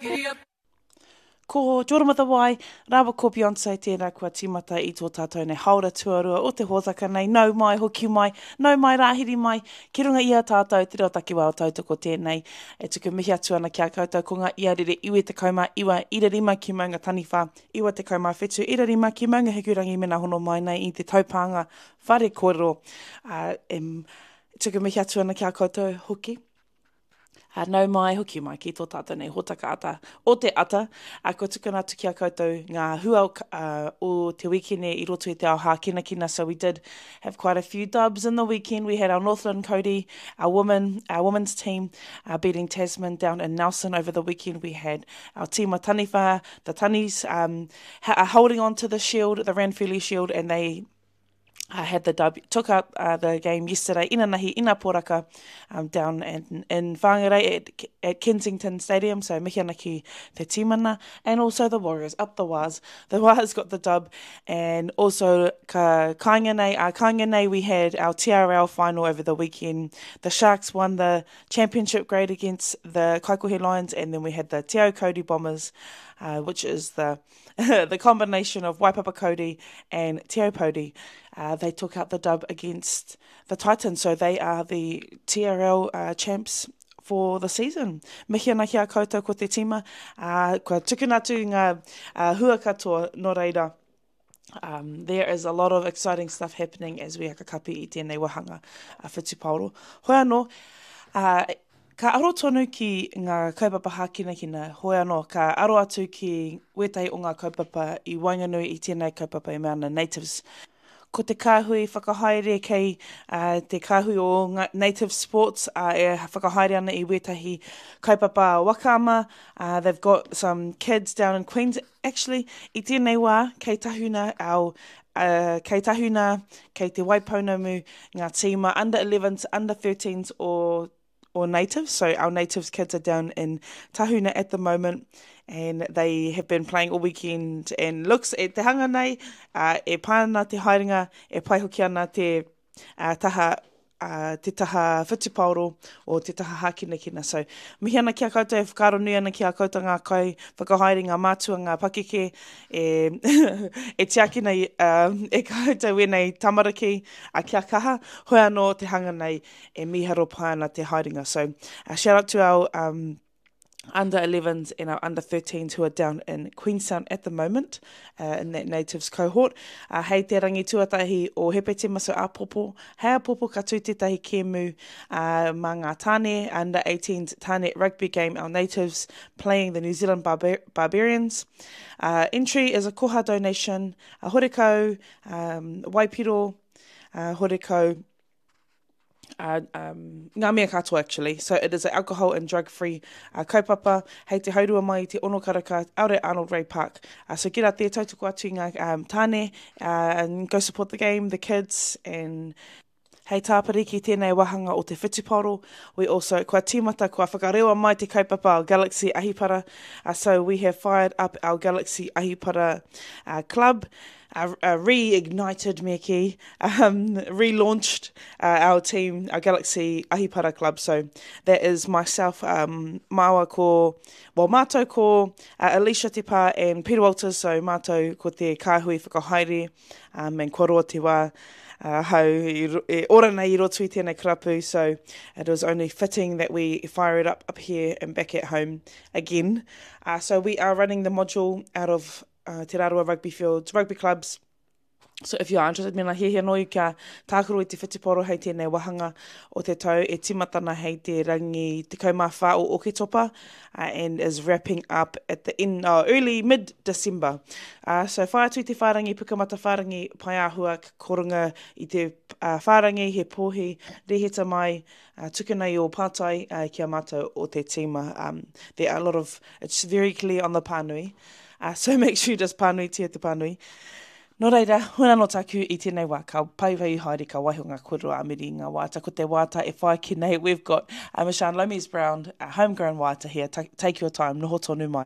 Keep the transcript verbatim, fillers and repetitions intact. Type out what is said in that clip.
Giddy up. Ko Jordan with a Y, rāua ko Beyonce tērā kua tīmata i tō tātou nei haora tuarua o te hōtaka nei. Nau mai, hoki mai, nau mai, rāhiri mai, ki runga i a tātou te reo takiwā o tautoko tēnei. E tuku mihi atu ana ki a koutou ko ngā iarere iwe tekau mā iwa ira rima ki Maunga Taniwha, iwa tekau mā whetu ira rima ki Maunga Hikurangi mena hono mai nei i te taupānga whare kōrero. Uh, e tuku mihi atu ana ki a koutou hoki. Uh, nau mai, hoki mai ki tō tātou nei hōtaka ata o te ata. Uh, kua tukuna atu ki a koutou ngā hua uh, o te wikene i roto i te ao hākinakina. So we did have quite a few dubs in the weekend. We had our Northland Kauri, our women, our women's team uh, beating Tasman down in Nelson over the weekend. We had our team of Taniwha, the Tanis, um, ha- holding on to the shield, the Ranfurly Shield, and they I had the dub, took out uh, the game yesterday, inanahi, ina poraka, um, down in, in Whangarei at, at Kensington Stadium. So mihi ana ki te tīmana, and also the Warriors, up the Wars. The Wars got the dub, and also ka kāinga nei, uh, kāinga nei, we had our T R L final over the weekend. The Sharks won the championship grade against the Kaikohe Lions, and then we had the Te Aokauri Bombers, uh, which is the, the combination of Waipapa Kauri and Te Aupōuri. Uh, they took out the dub against the Titans, so they are the T R L, uh, champs for the season. Mihi ana ki a koutou ko te tīma, uh, kua tukuna atu ngā, uh, hua katoa nō reira. Um, there is a lot of exciting stuff happening as we hakakapi i tēnei wahanga a whutupaoro. Hoi anō, uh, ka aro tonu ki ngā kaupapa hākinakina, hoi anō, ka aro atu ki wētahi o ngā kaupapa i waenganui i tēnei kaupapa i mea ana Natives. Ko te kāhui whakahaere kei, uh, te kāhui o ngā Native Sports, uh, e whakahaere ana i wētahi kaupapa wakama. Uh, they've got some kids down in Queens. Actually, i tēnei wā, kei Tahuna, our, uh, kei Tahuna, kei Te Waipounamu, ngā tīma under elevens, under thirteens o, o Natives. So our Natives kids are down in Tahuna at the moment, and they have been playing all weekend, and looks e te hanga nei, uh, e pai ana te haerenga, e pai hoki ana te, uh, taha, uh, te taha whutupaoro o te taha hākinakina. So mihi ana ki a koutou, e whakaaro nui ana ki a koutou ngā kai whakahaere, ngā mātua, ngā pakeke, e, e tiakina i, uh, e koutou wēnei tamariki, uh, kia kaha, hoi anō te hanga nei e miharo pai ana te haerenga. So, uh, shout out to our, um, under elevens and our under thirteens who are down in Queenstown at the moment, uh, in that Natives cohort. Uh, hei te rangi tuatahi o Hepetema, so āpopo. Hei āpopo ka tū tētahi kēmu, uh, mā ngā tāne, under eighteens tāne rugby game, our Natives playing the New Zealand Barbar- Barbarians. Uh, entry is a koha donation, a horekau, um, waipiro, uh, horekau, Uh, um, ngā mea katoa actually. So it is an alcohol and drug-free, uh, kaupapa. Hei te haurua mai te ono karaka, out at Arnold Ray Park. Uh, so get out there, tautoko atu i ngā, um, tāne, uh, and go support the game, the kids, and hei tāpiri ki tēnei wahanga o te whutupaoro. We also, kua tīmata, kua whakarewa mai te kaupapa o Galaxy Ahipara. Uh, so we have fired up our Galaxy Ahipara, uh, club, uh, uh, reignited me ki, um, relaunched, uh, our team, our Galaxy Ahipara club. So that is myself, um, māua ko, well, mātou ko, uh, Alicia Te Pā and Peter Walters. So mātou ko te kāhui whakahaere, um, and kua roa te wā, uh, hau i ro-, e ora nei i roto i tēnei karapu. So it was only fitting that we fire it up, up here and back at home again. Uh, so we are running the module out of, uh, Te Rarawa Rugby Fields, rugby clubs. So if you are interested, mena hiahia noi kia tākaro i te whutuporo hei tēnei wahanga o te tau e tīmatana hei te rangi tekau mā whā o Oketopa, uh, and is wrapping up at the end, uh, early mid-December. Uh, so whai atu i te whārangi, pukamata whārangi, pai āhua, korunga i te, uh, whārangi, he pōhi, reheta mai, uh, tukuna i o pātai, uh, kia mātou o te tīma. Um, there are a lot of, it's very clear on the pānui. Uh, so make sure you just pānui tia te pānui. Nō reira, huna no tāku i tēnei wā, ka pai wai haere, ka waiho ngā kōrero a miri ngā wāta. Ko te wāta e whai ki nei, we've got, uh, Mishan Lomies Brown, a homegrown wāta here. Ta-, take your time, noho tonu mai.